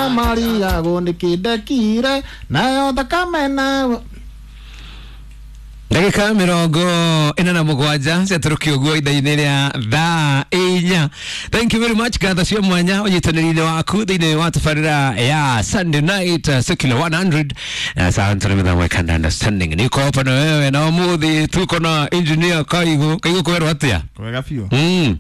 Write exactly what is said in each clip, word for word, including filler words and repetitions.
Maria gũndĩkĩndekire nayo thakame na ndagika mirongo ina na mugwanja ciatũrũkio ũguo ithaa-inĩ rĩa thaa inya. Thank you very much, ngatho cia mwanya ũnyitanĩri-inĩ waku thĩinĩ wa tabarĩra ya Sunday Night uh, Secular one hundred. Asante nĩ mĩthamo ya understanding, niko hapa na wewe na ũmũthĩ tuko na Engineer Kaigu. Kaigu, kwĩrwo atĩa? Wega biũ. Mm.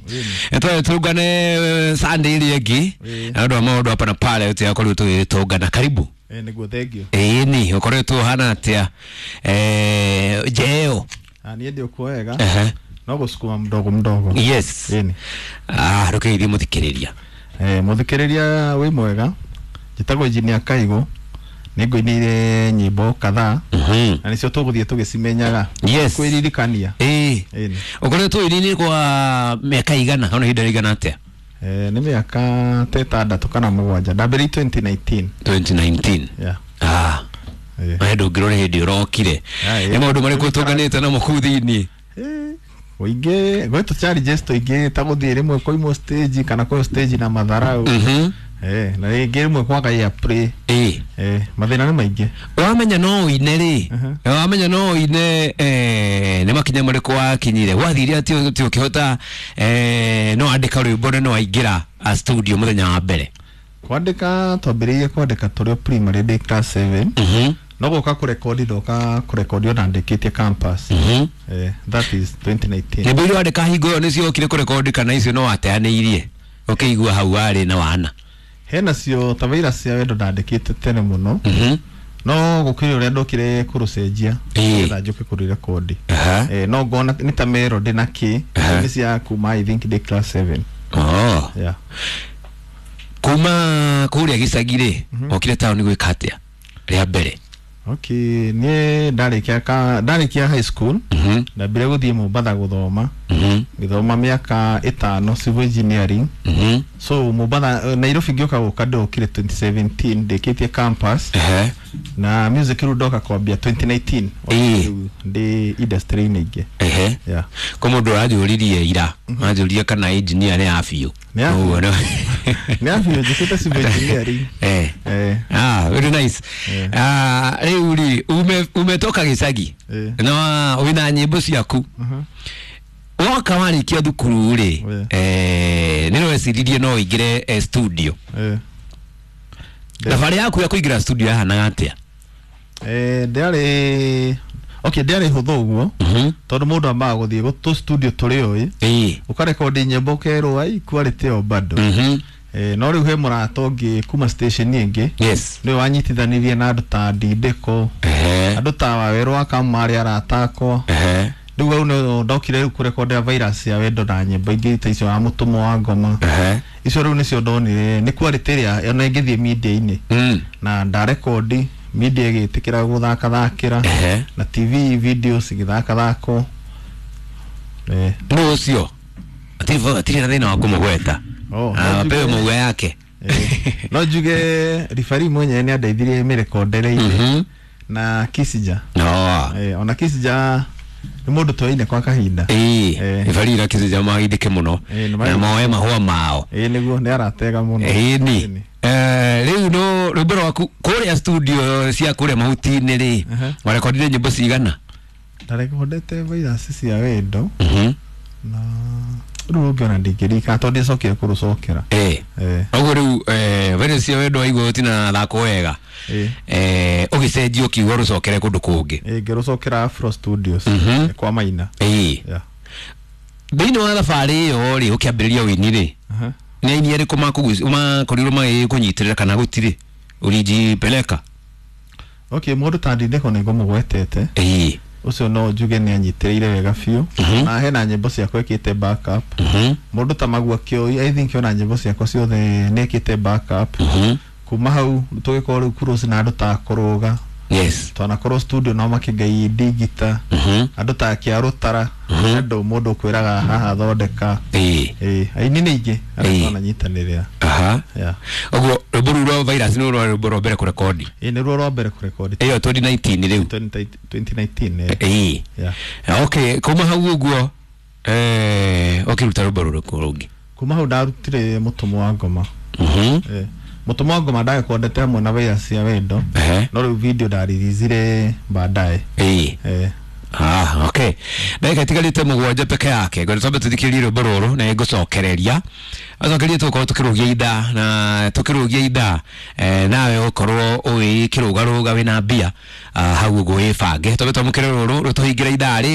Etwe tungane Sunday ĩrĩa ĩngĩ Ĩĩ. na ũndũ wa maũndũ hapa na pale tũgakorwo tũgĩtũngana. Karibu. Eh, nĩguo, thank you. Ĩni ũkoretwo ũhana atĩa, eh, jeo? Ah, niĩ ndĩ okuo wega. Ehe. No gũsukuma mdogo mdogo. Yes. Ĩni. Ah, rũkĩgeithie mũthikĩrĩria. Eh, mũthikĩrĩria, wĩ mwega. Njĩtagwo Engineer Kaigu, nĩ ngũinĩire nyĩmbo kadhaa Mhm. na nĩcio tũgũthiĩ tũgĩcimenyaga Yes. kwĩririkania. Ĩĩ. Ĩni. Ũkoretwo ũini kwa mĩaka igana ona ihinda rĩigana atĩa? Eh, nĩ mĩaka ta ĩtandatũ kana mũgwanja. Ndambĩrĩirie twenty nineteen. twenty nineteen. Yeah. Ah. Eh. We ndũngĩrora hĩndĩ ũrokire. Ah, ĩĩ. Nĩ maũndũ marĩkũ tũnganĩte namo kũu thĩinĩ? Eh, ũingĩ gwĩ tũ challenges tũingĩ ta gũthiĩ rĩmwe kũimwo stage kana kũheo stage na matharau. Mhm. Eh, na rĩngĩ rĩmwe kwaga airplay. Ĩĩ. Eh, mathĩna nĩ maingĩ. Wamenya no ũine rĩ, Mhm. wamenya no ũine, eh, nĩ makinya marĩkũ wakinyire wathire atĩ atĩ ũkĩhota, eh, no andĩka rwĩmbo na no waingĩra a studio mũthenya wa mbere? Kwandĩka twambĩrĩirie kwandĩka tũrĩ o primary, ndĩ class seven. Mhm. No gũka kũrekondi ndoka kũrekondi ona ndĩkĩtie campus. Mhm. Eh, that is twenty nineteen. Nyĩmbo iria wandĩka hingo ĩyo nĩcio okire kũrekondi kana icio no wateanĩirie ũkĩigua hau warĩ na wana? Hena cio ta Virus cia Wendo ndandĩkĩte tene mũno. Mhm. No gũkĩrĩ ũrĩa ndokire kũrũcenjia Ĩĩ. nĩgetha njũke kũrĩrekondi. Aha. Eh, no ngona nĩ ta melody na kĩ. Aha. Nĩ cia kuma, I think, ndĩ class seven. Oh. Yeah. Kuma kũrĩa gĩcagi rĩ, okire taũni gwĩka atĩa rĩa mbere? Okay, niĩ ndarĩkia ka ndarĩkia high school, Mhm. ndambire gũthiĩ Mombatha gũthoma. Mhm. Ngĩthoma mĩaka ĩtano civil engineering. Mhm. So Mombatha, eh, Nairobi ngĩũka gũka ndokire twenty seventeen ndĩkĩtie campus. Ehe. Na music rĩu ndoka kwambia twenty nineteen. Ĩĩ. Rĩu ndĩ industry-inĩ ingĩ. Ehe. Yeah. Ko mũndũ ũranjũririe ira anjũririe kana engineer nĩ ya biũ. Nĩ ya biũ. Ũguo nĩ- Nĩ ya biũ, njĩkĩte civil engineering. Eh. Eh. Ah, very nice. Eh. Ah, rĩu rĩ ume umetoka gĩcagi Eh. na wĩna nyĩmbo ciaku. Mhm. Woka warĩkia thukuru rĩ, Eh. eh, nĩ weciririe no ũingĩre eh, studio? Eh. Thabarĩ yaku ya kũingĩra studio yahanaga atĩa? Eh, ndĩarĩ okay, ndĩarĩ hũthũ ũguo Mhm. tondũ mũndũ ambaga gũthiĩ gũtũ studio tũrĩ ũĩ, Ĩĩ. ũkarekondi nyĩmbo ũkerwo ai quality ĩyo bado. Mhm. Eh, no rĩu he mũrata ũngĩ kuma station ĩngĩ, Yes. nĩwe wanyitithanirie na andũ ta Ndindĩko, Ehe. andũ ta Wawerũ wa Kamũ marĩ arata akwa. Ehe. Rĩu hau nĩho ndokire rĩu kũrekondera Virus ya Wendo na nyĩmbo ingĩ ta icio wa Mũtũmwo wa Ngoma. Ehe. Icio rĩu nĩcio ndonire nĩ quality ĩrĩa ona ĩngĩthiĩ media-inĩ. Mm. Na ndarekondi, media ĩgĩtĩkĩra gũthakathakĩra Ehe. na T V videos igĩthakathakwo, eh. Nũ ũcio atirĩ atirĩ na thĩna wa kũmũgweta? Oh, Ah, no apewe njuge- maua yake. Eh, no njuge ribari mwenyewe nĩ andeithirie mĩrekondereire Mhm. na Kisija. No. Eh, ona Kisija nĩ mũndũ twaine kwa kahinda. Ĩĩ. Eh. Ibarira Kisija magithĩke mũno Eh, nĩ na magithĩke. moe mahũa mao. Ĩĩ nĩguo, nĩ aratega mũno. Ĩni. Ĩni. Eh, rĩu no rwĩmbo rwaku kũrĩa studio cia kũrĩa mahuti-inĩ rĩ, Aha. warekondire nyĩmbo cigana? Ndarekondete Virus cia Wendo Mhm. na rĩu rũngĩ ona ndingĩririkana tondũ ndicokire kũrũcokera. Eh. Eh. Ũguo rĩu eh, Virus cia Wendo waigua ũtina thakwo wega, Ĩĩ. eh, ũgĩcenjia ũkiuga rũcokere kũndũ kũngĩ. Ĩĩ, ngĩrũcokera Afro Studios. Mhm. Eh, kwa Maina. Ĩĩ. Yeah. Thĩinĩ wa thabarĩ ĩyo rĩ, ũkĩambĩrĩria ũini rĩ, Aha. nĩ aini arĩkũ makũguci- makorirwo magĩkũnyitĩrĩra kana gũtirĩ ũrinjipeleka? Okay, mũndũ ta Ndindĩko nĩ ngũmũgwetete. Ĩĩ. Ũcio no njuge nĩ anyitĩrĩire wega biũ. Mhm. Na hena nyĩmbo ciakwa ĩkĩte backup. Mhm. Mũndũ ta Magua Kĩoi, I think ona nyĩmbo ciakwa ciothe nĩ ĩkĩte backup. Mhm. Kuma hau tũgĩkorwo rĩu close na andũ ta Kũrũga. Yes. Twanakorwo studio no makĩngai ndigita. Mhm. Andũ ta Kĩarũtara, Mhm. andũ mũndũ ũkwĩraga haha thondeka. Ĩĩ. Ĩĩ, aini nĩ aingĩ arĩa Ĩĩ. twananyitanĩrĩra. Aha. Yeah. Ũguo rwĩmbo rũu rwa Virus nĩ rwa rwĩmbo rwa mbere kũrekondi? Ĩĩ, nĩruo rwa mbere kũrekondi. Ĩyo twenty nineteen rĩu? twenty nineteen, eh. Ĩĩ. Yeah. Okay, kuma hau ũguo eh, ũkĩruta rwĩmbo rũrĩkũ rũngĩ? Kuma hau ndarutire Mũtũmwo wa Ngoma. Mhm. Eh, Mũtũmwo wa ngoma ndagĩkondete hamwe na Virus ya wendo. Ehe. No rĩu video ndaririzzire baadaye. Ĩĩ. Eh. Ah, okay. Ndagĩka itigarĩte mũgwanja peke yake. Ngwenda twambe tũthikĩrĩrie rwĩmbo rũrũ na nĩngũcokereria. Acokereria tũgũkorwo tũkĩrũgia ithaa na tũkĩrũgia ithaa, eh, nawe ũkorwo ũgĩkĩrũgarũga wĩna mbia, ah, hau ũguo wĩbange. Twambe twamũkĩre rũrũ rũtũhingĩre ithaa rĩ.